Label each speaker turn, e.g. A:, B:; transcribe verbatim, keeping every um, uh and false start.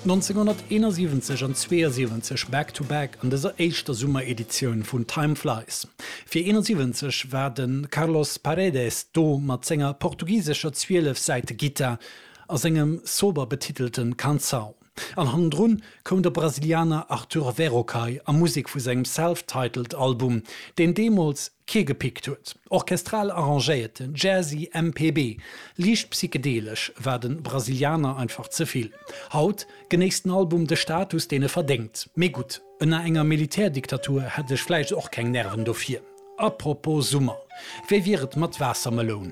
A: nënzénghonnerteenasiwwenzeg an zweeësiwwenzeg back to back an dëser éischter Summereditioun vun Time Flies. Fir eenasiwwenzeg war de Carlos Paredes do mat senger portugisescher zwielef-Säite-Gittar a sengem sober betitelten Canção. An hannendrun koum de Brasilianer Arthur Verocai a Musek vu sengem self-titled Album, deen deemools kee gepickt huet. Orchestral arrangéierten, jazzy M P B, liicht psychedelesch war de Brasilianer einfach ze vill. Haut genéisst den Album de Status, deen e verdéngt. Mee gutt, ënner enger Militärdiktatur hätt ech vläicht och keng Nerven dofir. Apropos Summer, wéi wier et mat Waassermeloun?